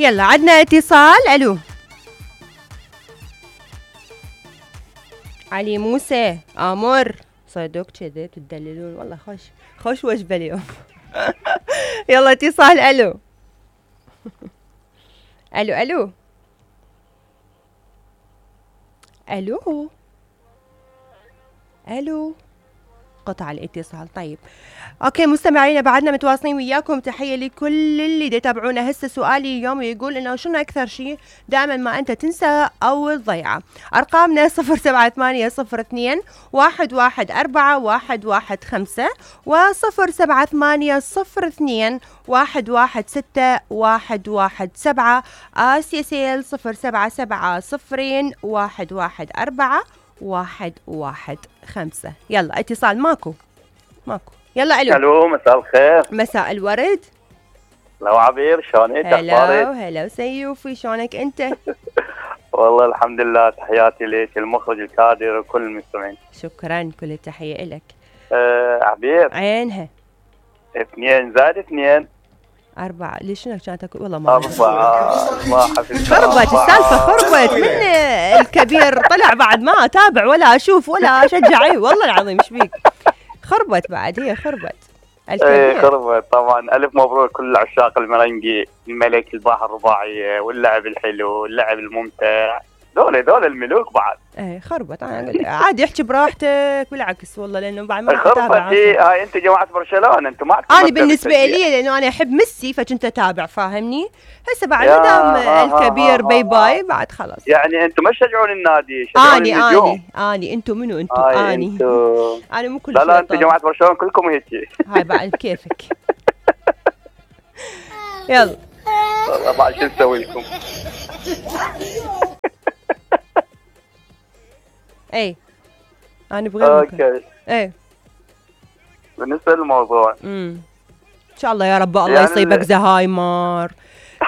يلا عدنا اتصال. الو علي موسى امر صدق كذا تدللون والله خوش وجبه اليوم. يلا اتصال. الو الو الو الو الو قطع الاتصال. طيب اوكي مستمعينا بعدنا متواصلين وياكم. تحيه لكل اللي يتابعونا. هسه سؤالي اليوم يقول انه شنو اكثر شيء دائما ما انت تنسى او تضيعه. ارقامنا 07802 114 115 و07802 116 117 اسيسيل 077 114 115. يلا اتصال. ماكو. يلا الو مساء الخير. مساء الورد. لو عبير شلونك؟ هلا سيوفي شلونك انت؟ والله الحمد لله. تحياتي لك المخرج الكادر وكل المستمعين. شكرا كل التحيه لك. عبير عينها 2 زائد 2 4. ليش شنو كانت اقول والله ما 4 ما حفظت. خربت السالفه خربت من الكبير طلع بعد ما اتابع ولا اشوف ولا اشجع. اي والله العظيم ايش بيك خربت بعد. هي خربت الكبير. خربت طبعا. الف مبروك كل عشاق المرنجي الملك الباحة الرباعية واللعب الحلو واللعب الممتع. دول الملوك بعد. ايه خربت. عادي احكي براحتك بالعكس والله لانه بعد ما خربت. هاي انت جماعه برشلونه انتم ما انا بالنسبه لي لانه انا احب ميسي فكنت اتابع فاهمني. هسه بعد ما دام الكبير باي بعد خلاص. يعني انتم ما تشجعون النادي. اني انتم منو انتم؟ انا مو كل لا انتم جماعه برشلونه كلكم هيك. هاي بعد كيفك. يلا والله بعد شو نسوي لكم. اي انا ابغى اوكي. اي بالنسبه للموضوع ان شاء الله يا رب الله يعني يصيبك زهايمر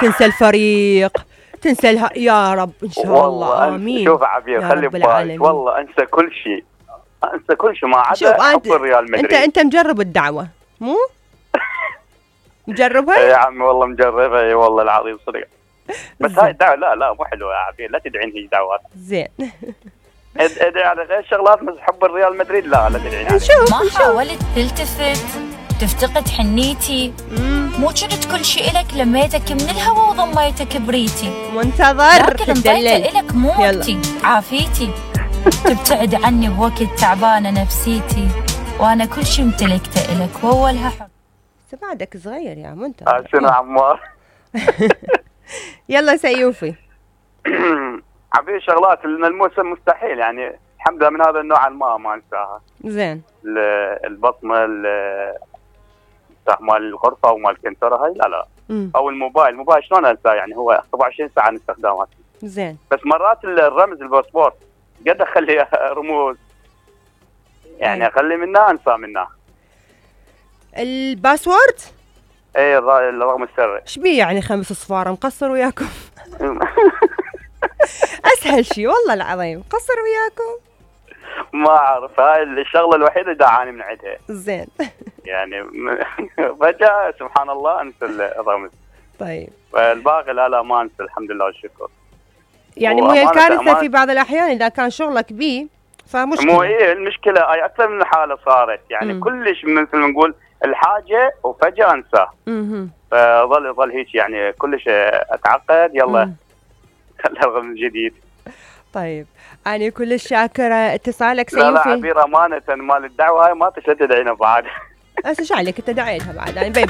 تنسى الفريق تنسى يا رب ان شاء الله. امين. شوف عبير خلي ببالك والله انسى كل شيء ما عدا حب الريال مدريد. انت مجرب الدعوه مو مجربها؟ يا عمي والله مجربها. اي والله العظيم صدق. بس هاي الدعوه لا مو حلوه يا عبير. لا تدعين هي دعوات. زين ادعي على غير شغلات بس حب الريال مدريد لا تدعين عليه. ما حاولت تلتفت تفتقد حنيتي مو كنت كل شيء إلك لميتك من الهوى وضميتك بريتي منتظر لكن انطيته إلك مو وقتي عافيتي تبتعد عني بوقت تعبانة نفسيتي وانا كل شيء امتلكته إلك واولها حب. بعدك صغير يا منتظر. شنو عمار. يلا سيوفي. عبير شغلات الموسم مستحيل يعني الحمد لله من هذا النوع ما انساها. زين. البصمه مال الغرفه ومال الكنتره هاي لا او الموبايل شلون انساه يعني هو 24 ساعه نستخدمه. زين. بس مرات الرمز الباسبور قد اخلي رموز يعني اخلي منها انسى منها. الباسورد؟ اي الرقم السري. ايش بيه يعني 5 صفار مقصر وياكم؟ اسهل شيء والله العظيم قصر وياكم. ما اعرف هاي الشغله الوحيده اللي دعاني من عندها. زين. يعني فجاه سبحان الله انسى الرمز. طيب الباقي لا ما انسى الحمد لله والشكر. يعني مو هي الكارثه في بعض الاحيان اذا كان شغلك بيه فمشكله. مو هي المشكله هاي اكثر من حاله صارت يعني كلش مثل ما نقول الحاجه وفجاه انساه. فظل هيك يعني كلش اتعقد يلا خلها من جديد. طيب أنا كلش شاكرة اتصالك سيوفي. لا عبير أمانة مال الدعوة هاي ما تشتت عينه بعد. هسه شو عليك أنت دعيتها بعد يعني باي